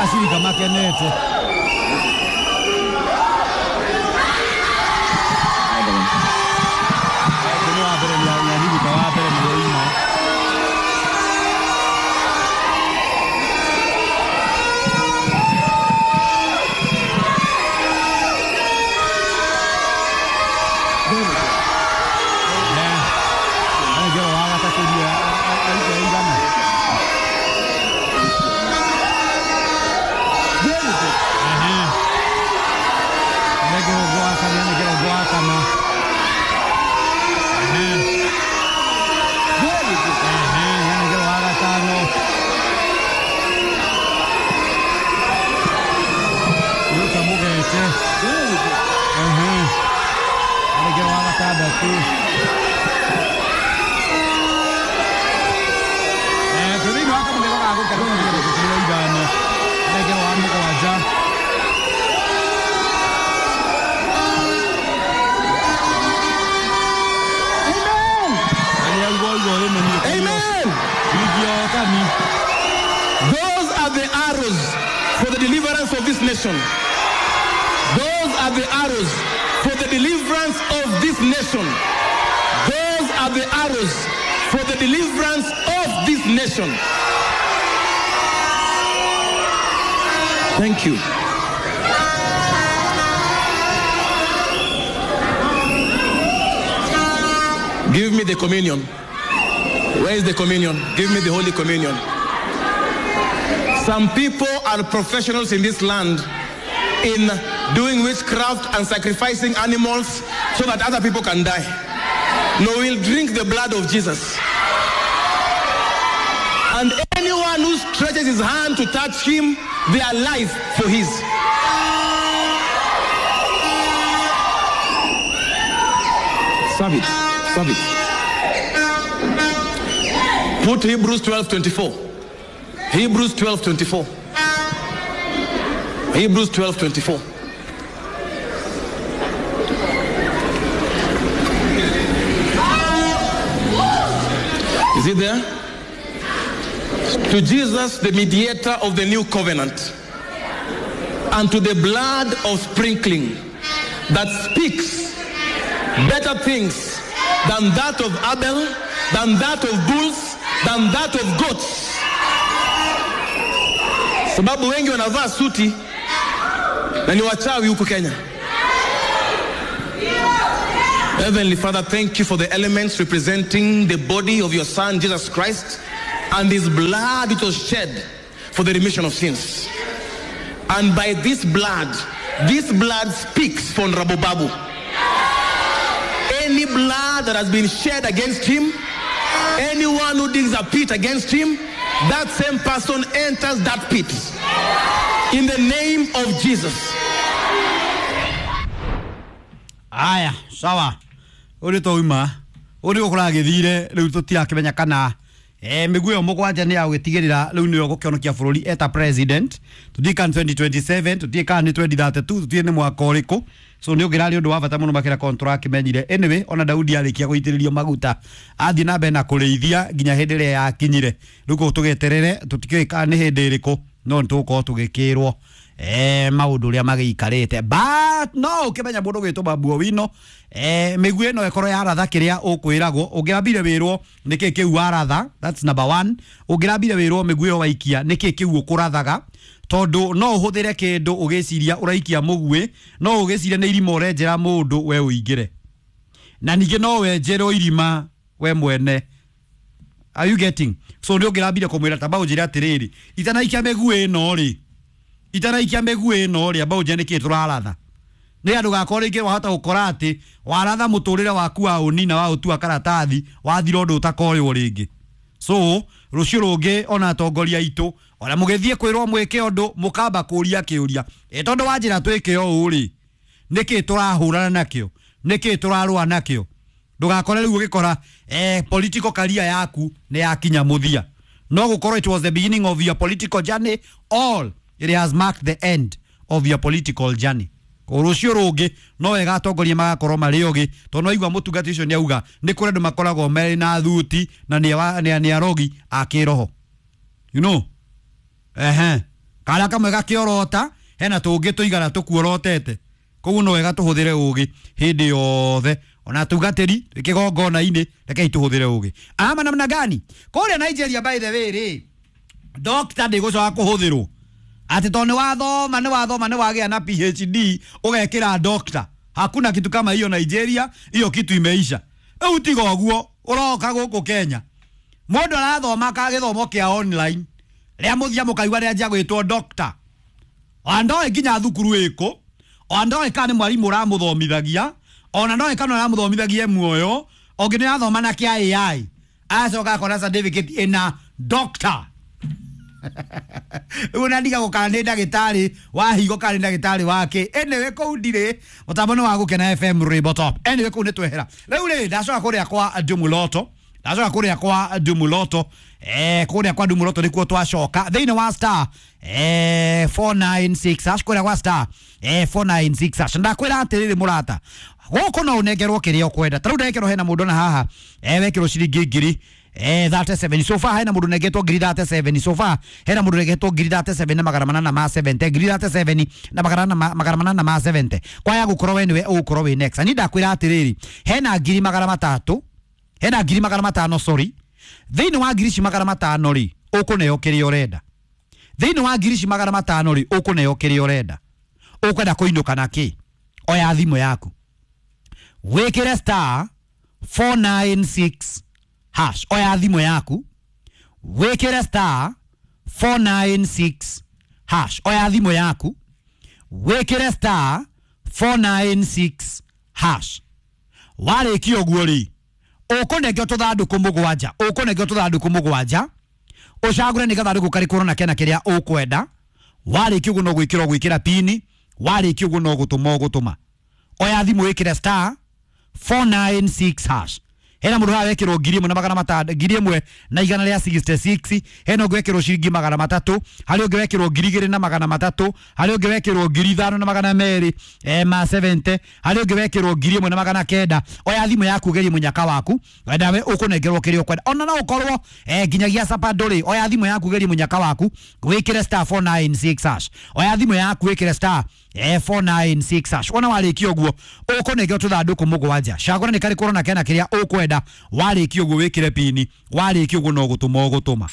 Acirika makenete. Nĩ wa mbere nĩ athirika wa mbere nĩ oima. Anengerwo wa gatatũ ndiũĩ aruta ĩigana. Very good. Anengerwo ũngĩ wa kana, anengerwo ũngĩ wa kana. Very good. Anengerwo wa gatano. Ruta Mũgete. Very good. Anengerwo wa gatandatũ. Twĩ thĩinĩ wa kamũtheko ga gũkena mĩrongo ĩtatũ na ithano. Anengerwo wa mũgwanja. Amen. Na nĩ auga oiga ũrĩme niĩ Amen. Ciringi ya ũtani. Those are the arrows for the deliverance of this nation. Those are the arrows for the deliverance of this nation. Those are the arrows for the deliverance of this nation. Thank you. Give me the communion. Where is the communion? Give me the Holy Communion. Some people are professionals in this land in doing witchcraft and sacrificing animals so that other people can die. No, we'll drink the blood of Jesus. And anyone who stretches his hand to touch him, their life for his. Serve it. Serve it. Put Hebrews 12:24. Hebrews 12:24. Hebrews 12:24. Is it there? To Jesus, the mediator of the new covenant, and to the blood of sprinkling that speaks better things than that of Abel, than that of bulls, than that of goats. Sababu wengi wanavaa suti na ni wachawi huku Kenya. Heavenly Father, thank you for the elements representing the body of your Son, Jesus Christ, and his blood which was shed for the remission of sins. And by this blood speaks for Honorable Babu. Any blood that has been shed against him, anyone who digs a pit against him, that same person enters that pit. In the name of Jesus. Aya, sawa. Ũrĩ twauma ũrĩ gũkũragĩthire rĩu tũtirakĩmenya kana mĩguĩ ĩyo mũgwanja nĩ ya gũgĩtigĩrĩra rĩu nĩyo gũkĩonokia bũrũri eta president. Tũtiĩ kana 2027, tũtiĩ kana nĩ 2032, tũtiĩ nĩ mwaka ũrĩkũ. So nĩ ũngĩrarĩ ũndũ wa bata mũno makĩria korwo nĩtũrakĩmenyire. Anyway, ona Daudi arĩkia gũitĩrĩrio maguta athiĩ na mbere na kũrĩithia nginya hĩndĩ ĩrĩa yakinyire. Rĩu kũu tũgĩeterere tũtikĩũĩ kana nĩ hĩndĩ ĩrĩkũ, no nĩtũgũkorwo tũgĩkĩrwo maũndũ ũrĩa magĩikarĩte. But no ũkĩmenya mũndũ ũgwĩtwo Babu Owino, mĩguĩ ĩno ĩkorwo yaratha kĩrĩa ũkwĩragwo. Ũngĩrambire wĩrwo nĩkĩ kĩu waratha, that's number one. Ũngĩrambire wĩrwo mĩguĩ ĩyo waikia nĩkĩ kĩu ũkũrathaga, tondũ no ũhũthĩre kĩndũ ũgĩciria ũraikia mũguĩ, no ũgĩciria nĩ irima ũrenjera mũndũ we ũingĩre, na ningĩ no wenjerwo irima we mwene. Are you getting? So nĩ ũngĩrambire kũmwĩra tamba ũnjĩre atĩrĩrĩ, itanaikia mĩguĩ ĩno rĩ, itanaikia mĩguĩ ĩno rĩ, amba ũnjĩre nĩkĩ tũraratha, nĩ andũ gakorwo rĩngĩ wahota gũkora atĩ waratha mũtũrĩre waku wa ũnina wa ũtua karatathi wathira ũndũ ũtakoywo rĩngĩ. So rũciũ rũngĩ ona atongoria aitũ ona mũgĩthiĩ kwĩrwo mwĩke ũndũ mũkamba kũria kĩũria, tondũ wanjĩra twĩke ũũ rĩ, nĩkĩ tũrahũrana nakĩo, nĩkĩ tũrarũa nakĩo? Ndũgakore rĩu ũgĩkora political career yaku nĩ yakinya mũthia. No gũkorwo it was the beginning of your political journey, all it has marked the end of your political journey. Rũciũ rũngĩ no wega atongoria magakorwo marĩ ogĩ, tondũ no igua mũtungati ũcio nĩ auga nĩ kũrĩ andũ makoragwo marĩ na thuti na nĩ arogi a kĩroho, you know. Ehe, Kara kamwe gakĩorota hena tũngĩ tũigana tũkuorotete. Koguo no wega tũhũthĩre ũgĩ hĩndĩ yothe ona tungatĩri kĩgongona-inĩ rekei tũhũthĩre ũgĩ. Ama namna gani? Kũrĩa Nigeria by the way rĩ, doctor ndĩgũcoka kũhũthĩrwo atĩ tondũ nĩ wathoma nĩ wathoma nĩ wagĩa na PhD ũgekĩra doctor. Hakuna kitu kama hiyo Nigeria, hiyo kitu imeisha. Rĩu tiga ũguo ũroka gũkũ Kenya mũndũ arathoma ka gĩthomo kĩa online rĩa mũthia mũkaigua rĩanjia gwĩtwo doctor. Ona ndoĩ nginya thukuru ĩkũ, ona ndoĩ kana nĩ mwarimũ ũramũthomithagia, ona ndoĩ kana ũramũthomithagia muoyo, ũngĩ nĩ arathoma na kĩa AI aracoka akona certificate ĩna doctor. Rĩu ona ndigagwo kana nĩ ndagĩtarĩ wa higo kana nĩ ndagĩtarĩ wa kĩ. Anyway kũu ndirĩ mũtambo nĩ wa Gũkena FM Rainbow Top. Anyway kũu nĩ twehera. Rĩu rĩ ndacoka kũrĩa kwa Ndumuloto, ndacoka kũrĩa kwa Ndumuloto, kũrĩa kwa Ndumuloto nĩkuo twacoka thĩinĩ wa star 496 hash, kũrĩa kwa star 496 hash. Ndakwĩra atĩrĩrĩ mũrata, gũkũ no ũnengerwo kĩrĩa ũkwenda. Ta rĩu ndekerwo hena mũndũ na haha wekĩrwo ciringi ngiri 37 so far. Hena mũndũ nengetwo ngiri 37 so far, hena mũndũ nengetwo ngiri 37 na magana manana ma 70, ngiri 37 na magana manana ma 70. Kwaya gũkorwo we nĩwe ũgũkorwo wĩ next. Ni ndakwĩra atĩrĩrĩ, hena ngiri magana matatũ, hena ngiri magana matano, sorry. Thĩinĩ wa ngiri ici magana matano rĩ, ũkũneo kĩrĩa ũrenda. Thĩinĩ wa ngiri ici magana matano rĩ, ũkũneo kĩrĩa ũrenda. Ũkwenda kũinũka na kĩ? Oya thimũ yaku wĩkĩre star 496 hash. Oya thimũ yaku wĩkĩre star 496 hash. Oya thimũ yaku wĩkĩre star 496 hash. Warĩkia ũguo rĩ, ũkũnengio tũthandũkũ mũgwanja, ũkũnengio tũthandũkũ mũgwanja, ũcagũre nĩ gathandũkũ karĩkũ ũrona kena kĩrĩa ũkwenda. Warĩkia ũguo no gwĩkĩra ũgwĩkĩra pini, warĩkia ũguo no gũtũma ũgũtũma. Oya thimũ wĩkĩre star 496 hash. Hena mũndũ haha wekĩrwo ngiri ĩmwe na magana matano, ngiri ĩmwe na igana rĩa 66, hena ũngĩ wekĩrwo ciringi magana matatũ, harĩ ũngĩ wekĩrwo ngiri igĩrĩ na magana matatũ, harĩ ũngĩ wekĩrwo ngiri ithano na magana merĩ ma 70, harĩ ũngĩ wekĩrwo ngiri ĩmwe na magana kenda. Oya thimũ yaku ũgerie mũnyaka waku, nawe ũkũnengerwo kĩrĩa ũkwenda. Ona no ũkorwo nginyagia sapa ndũrĩ. Oya thimũ yaku ũgerie mũnyaka waku, wĩkĩre star 496 hash. Oya thimũ yaku wĩkĩre star 496 hash. Wona warĩkia ũguo ũkũnengerwo tũthandũkũ mũgwanja, cagũra nĩ karĩkũ ũrona kena kĩrĩa ũkwenda. Warĩkia ũguo wĩkĩre pini, warĩkia ũguo no gũtũma ũgũtũma.